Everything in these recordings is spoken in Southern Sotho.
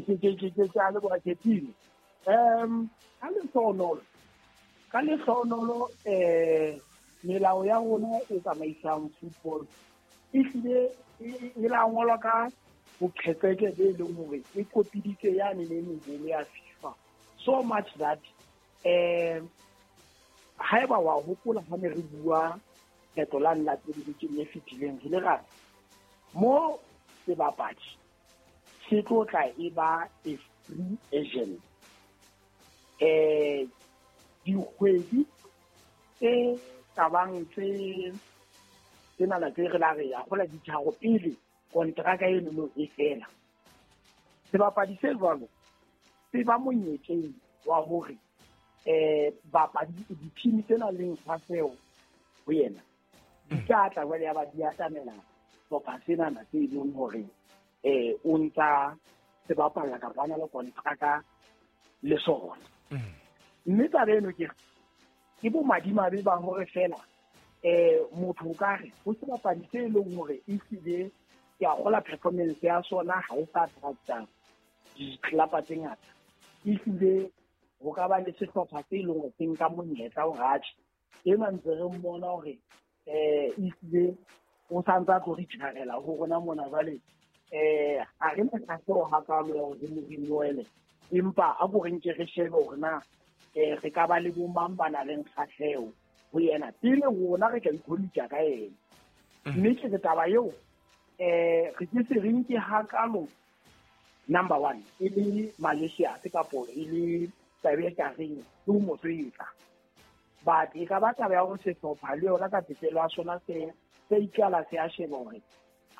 Ke a leboha Ketile. Ka lehlohonolo melao ya rona e tsamaisang football e hlile e la ngolwa ka boqhetseke be leng hore e kopiditse yane ne meholo ya FIFA, so much that haeba wa hopola ha ne re bua kgetlo la la pele bekeng e fetileng, re le ra mo sebapadi se tlo tla e ba a free agent dikgwedi tse kabang tse tsenana tse re la re ya gola ditharo pele kontraka enono e fela, sebapadi se jwalo se ba monyetleng wa hore bapadi di-team tse nang le kgahleho ho yena di tla tla jwale ya ba di atamela sehlopha senana se e leng hore o ntsa se bapalla kapa a na le kontraka le sona. Mme taba eno ke bomadimabe ba hore fela motho o ka re ho sebapadi se e leng hore ehlile ke a kgola performance ya sona ha e sa attracta ditlelapa tse ngata, ehlile ho ka ba le sehlopha se e leng hore se nka monyetla hore atjhe, enwa ntse re mmona hore ehlile o santse a tlo re tjharela ho rona mona. Jwale ha re na kgahleho hakalo ya hore re mo renewele, empa a ko re nke re shebe hore na re ka ba le bo mang ba nang le kgahleho ho yena pele rona re ka ikhodisa ka yena. Mme ke re taba eo re ke se re nke hakalo number one e le Malaysia kapo e le taba e ka reng ke ho mo swetsa, but e ka ba taba ya hore sehlopha le yona ka tsepelo ya sona se ikala se a sheba hore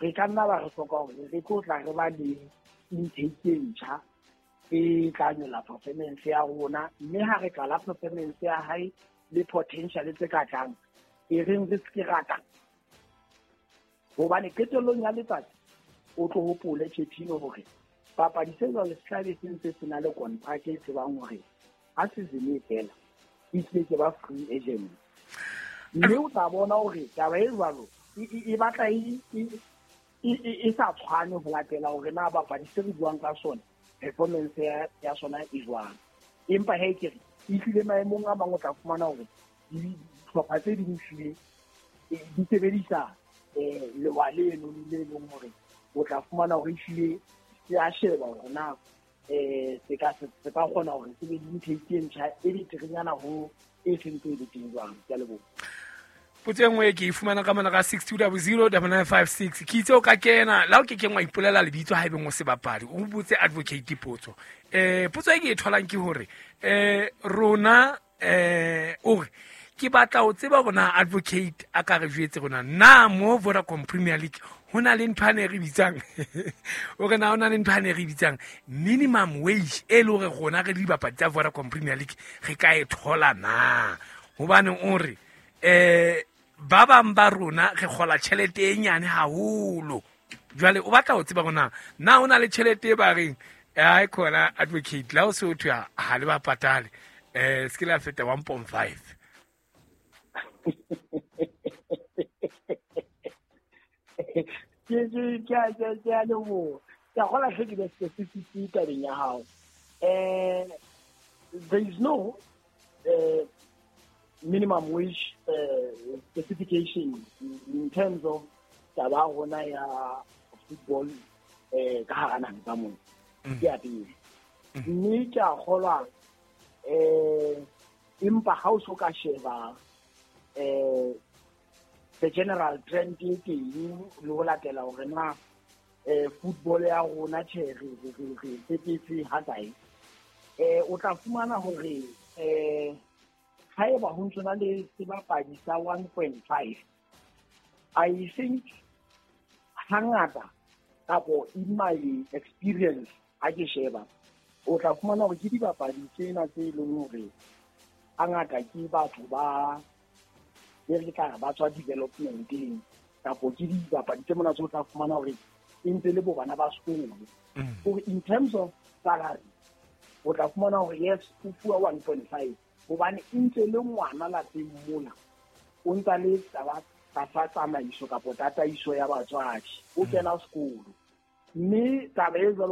re ka nna ba re hloka hore re tlo tla re ba le intake e ntjha e tla nyolla performance ya rona. Mme ha re qala performance ya hae le potential tse ka tlang e reng re se rata, hobane qetellong ya letsatsi o tlo hopole Chetino hore papadi se jwalo se tlabe se ntse se na le contract e tsebang hore ha season e fela e tlile ke ba free agent. Mme o tla bona hore taba e jwalo e batla e sa tshwane ho latela hore na bapadi se re buang ka sona performance ya sona e jwang. Empa he ke re e hlile maemong a mang o tla fumana hore dihlopha tse ding hlile di sebedisa lewa leno le leng hore o tla fumana hore ehlile se a sheba hore na se ka kgona hore se be le intake e ntjha e beterenyana ho e sentse e le teng jwang. Ke a leboha. Potso e nngwe ke e fumana ka mona ka 6200 9956. Ke itse o ka kena la o ke keng wa ipolela lebitso ha ebeng o sebapadi, o botse advocate potso. Potso e ke e tholang ke hore rona o re ke batla ho tseba hore na advocate a ka re jwetse rona na mo Vodacom Premier League ho na le ntho ane re bitsang o re na ho na le ntho ane re bitsang minimum wage e le hore rona re le dibapadi tsa Vodacom Premier League re ka e thola na, hobane o re ba bang ba rona re kgola tjhelete e nyane haholo. Jwale o batla ho tseba hore na ho na le tjhelete e ba reng ai khona advocate la o se o thwe ha le ba patale se ke la feta 1.5. Ke a leboha. Ke a kgola hle ke be specific tabeng ya hao. There is no minimum wage specification in terms of taba ya rona ya football ka hara naha ka mona. Ke ya pele. Mme ke a kgolwa empa ha o so ka sheba the general trend e teng le ho latela hore na football ya rona tjhe re tsepetse ha kae, o tla fumana hore haeba ho ntso na le sebapadi sa 1.5, I think hangata kapo in my experience ha ke sheba, o tla fumana hore ke dibapadi tsena tse leng hore hangata ke batho ba e re tla re ba tswa developmenteng kapo ke dibapadi tse mona tse o tla fumana hore e ntse le bo bana ba sekolo. Hore in terms of salary o tla fumana hore yes, o fuwa 1.5 hobane e ntse le ngwana lapeng mona, o ntsa le taba tlasa tsamaiso kapo tataiso ya batswadi, o kena sekolo. Mme taba e jwalo.